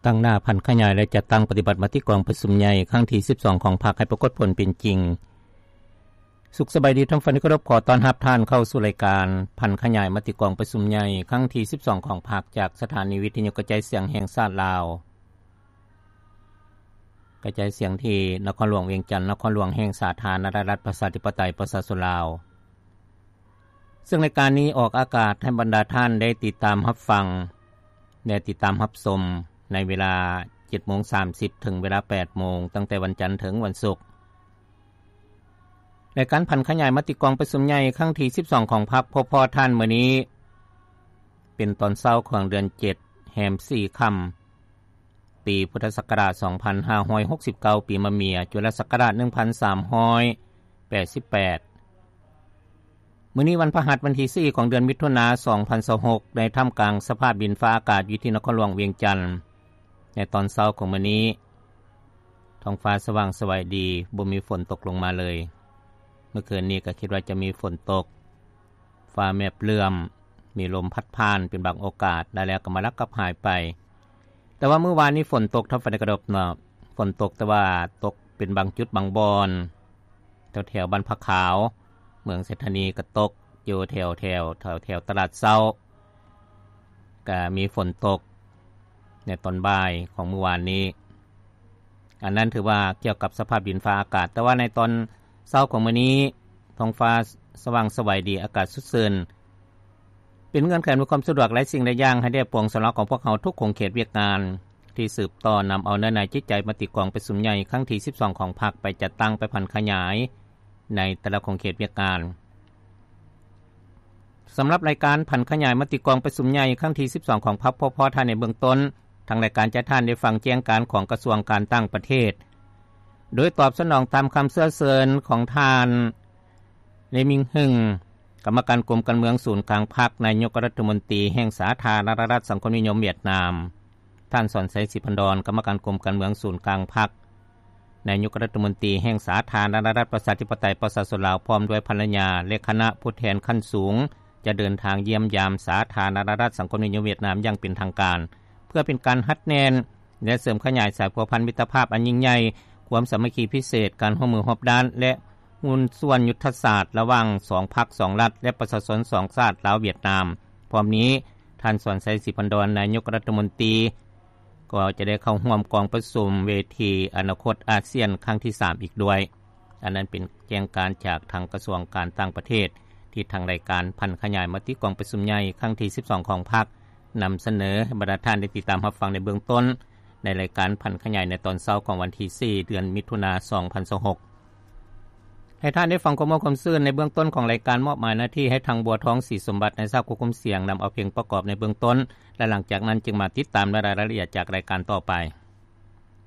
ຕັ້ງໜ້າຜັນຂະຫຍາຍ ແລະ ຈັດຕັ້ງປະຕິບັດມະຕິກອງປະຊຸມໃຫຍ່ຄັ້ງທີສິບສອງຂອງພັກໃຫ້ປາກົດຜົນເປັນຈິງ. ສຸກສະບາຍດີທ່ານຜູ້ຟັງທີ່ເຄົາລົບ, ຂໍຕ້ອນຮັບທ່ານເຂົ້າສູ່ລາຍການຜັນຂະຫຍາຍມະຕິກອງປະຊຸມໃຫຍ່ຄັ້ງທີສິບສອງຂອງພັກ ຈາກສະຖານີວິທະຍຸກະຈາຍສຽງແຫ່ງຊາດລາວ, ກະຈາຍສຽງທີ່ນະຄອນຫຼວງວຽງຈັນ, ນະຄອນຫຼວງແຫ່ງສາທາລະນະລັດ ປະຊາທິປະໄຕ ປະຊາຊົນລາວ. ເຊິ່ງລາຍການນີ້ອອກອາກາດໃຫ້ບັນດາທ່ານໄດ້ຕິດຕາມຮັບຟັງ ແລະ ຕິດຕາມຮັບຊົມໃນເວລາເຈັດໂມງສາມສິບ ເຖິງເວລາແປດໂມງ ຕັ້ງແຕ່ວັນຈັນເຖິງວັນສຸກ. ລາຍການຜັນຂະຫຍາຍມະຕິກອງປະຊຸມໃຫຍ່ຄັ້ງທີສິບສອງຂອງພັກ ພົບພໍ້ທ່ານມື້ນີ້ ເປັນຕອນເຊົ້າຂອງເດືອນເຈັດ ແຮມສີ່ຄ່ຳ ປີພຸດທະສັກກະລາດສອງພັນຫ້າຮ້ອຍຫົກສິບເກົ້າ ປີມະເມຍ ຈຸລະສັກກະລາດໜຶ່ງພັນສາມຮ້ອຍແປດສິບແປດ. ມື້ນີ້ວັນພະຫັດ ວັນທີສີ່ຂອງເດືອນມິຖຸນາ ສອງພັນຊາວຫົກ ໃນທ່າມກາງສະພາບດິນຟ້າອາກາດຢູ່ທີ່ນະຄອນຫຼວງວຽງຈັນ ໃນຕອນເຊົ້າຂອງມື້ນີ້ ທ້ອງຟ້າສະຫວ່າງສະໄຫວດີ ບໍ່ມີຝົນຕົກລົງມາເລີຍ. ເມື່ອຄືນນີ້ກໍຄິດວ່າຈະມີຝົນຕົກ ຟ້າແມບເຫຼື້ອມ ມີລົມພັດຜ່ານເປັນບາງໂອກາດ ແລ້ວກໍມາລັກກັບຫາຍໄປ. ແຕ່ວ່າມື້ວານນີ້ຝົນຕົກ ທ່ານຜູ້ຟັງທີ່ເຄົາລົບເນາະ, ຝົນຕົກ ແຕ່ວ່າຕົກເປັນບາງຈຸດບາງບ່ອນ ແຖວໆບ້ານຜາຂາວ ເມືອງໄຊທານີກໍຕົກ ຢູ່ແຖວໆ ແຖວໆຕະຫຼາດເຊົ້າ ກໍມີຝົນຕົກໃນຕອນບ່າຍຂອງມື້ວານນີ້. ອັນນັ້ນຖືວ່າກ່ຽວກັບສະພາບດິນຟ້າອາກາດ, ແຕ່ວ່າໃນຕອນເຊົ້າຂອງມື້ນີ້ ທ້ອງຟ້າສະຫວ່າງສະໄຫວດີ ອາກາດສົດຊື່ນ. ເປັນເງື່ອນໄຂອຳນວຍຄວາມສະດວກຫຼາຍສິ່ງຫຼາຍຢ່າງໃຫ້ແດ່ປວງຊາວລາວຂອງພວກເຮົາທຸກຂົງເຂດວຽກງານ ທີ່ສືບຕໍ່ນຳເອົາເນື້ອໃນຈິດໃຈມະຕິກອງປະຊຸມໃຫຍ່ຄັ້ງທີສິບສອງຂອງພັກ ໄປຈັດຕັ້ງ ໄປຜັນຂະຫຍາຍໃນແຕ່ລະຂົງເຂດວຽກງານ. ສຳລັບລາຍການຜັນຂະຫຍາຍມະຕິກອງປະຊຸມໃຫຍ່ຄັ້ງທີສິບສອງຂອງພັກ ພໍພໍທ່ານໃນເບື້ອງຕົ້ນ, ທາງລາຍການຈະໃຫ້ທ່ານໄດ້ຟັງແຈ້ງການຂອງກະຊວງການຕ່າງປະເທດ ໂດຍຕອບສະໜອງຕາມຄຳເຊື້ອເຊີນຂອງທ່ານ ເລມິງ ຫຶງ ກຳມະການກົມການເມືອງສູນກາງພັກ, ນາຍົກລັດຖະມົນຕີແຫ່ງສາທາລະນະລັດສັງຄົມນິຍົມຫວຽດນາມ, ທ່ານ ສອນໄຊ ສີພັນດອນ ກຳມະການກົມການເມືອງສູນກາງພັກ, ນາຍົກລັດຖະມົນຕີແຫ່ງສາທາລະນະລັດປະຊາທິປະໄຕປະຊາຊົນລາວ ພ້ອມດ້ວຍພັນລະຍາ ແລະ ຄະນະຜູ້ແທນຂັ້ນສູງ ຈະເດີນທາງຢ້ຽມຢາມສາທາລະນະລັດສັງຄົມນິຍົມຫວຽດນາມຢ່າງເປັນທາງການ ເພື່ອເປັນການຮັດແໜ້ນ ແລະ ເສີມຂະຫຍາຍສາຍພົວພັນມິດຕະພາບອັນຍິ່ງໃຫຍ່, ຄວາມສາມັກຄີພິເສດ, ການຮ່ວມມືຮອບດ້ານ ແລະ ຫຸ້ນສ່ວນຍຸດທະສາດລະຫວ່າງສອງພັກສອງລັດ ແລະ ປະຊາຊົນສອງຊາດລາວຫວຽດນາມ. ພ້ອມນີ້, ທ່ານ ສອນໄຊ ສີພັນດອນ ນາຍົກລັດຖະມົນຕີ ກໍຈະໄດ້ເຂົ້າຮ່ວມກອງປະຊຸມເວທີອະນາຄົດອາຊຽນຄັ້ງທີສາມອີກດ້ວຍ. ອັນນັ້ນເປັນແຈ້ງການຈາກທາງກະຊວງການຕ່າງປະເທດ ທີ່ທາງລາຍການຜັນຂະຫຍາຍມະຕິກອງປະຊຸມໃຫຍ່ຄັ້ງທີສິບສອງຂອງພັກ ນຳສະເໜີໃຫ້ບັນດາທ່ານໄດ້ຕິດຕາມຮັບຟັງໃນເບື້ອງຕົ້ນ ໃນລາຍການຜັນຂະຫຍາຍໃນຕອນເຊົ້າຂອງວັນທີສີ່ ເດືອນມິຖຸນາ ສອງພັນຊາວຫົກ. ໃຫ້ທ່ານໄດ້ຟັງຄວາມມ່ວນຄວາມຊື່ນໃນເບື້ອງຕົ້ນຂອງລາຍການ, ມອບໝາຍໜ້າທີ່ໃຫ້ທາງ ບົວທອງ ສີສົມບັດ ໃນສາກຄວບຄຸມສຽງ ນຳເອົາເພງປະກອບໃນເບື້ອງຕົ້ນ ແລະ ຫຼັງຈາກນັ້ນຈຶ່ງມາຕິດຕາມລາຍລະອຽດຈາກລາຍການຕໍ່ໄປ.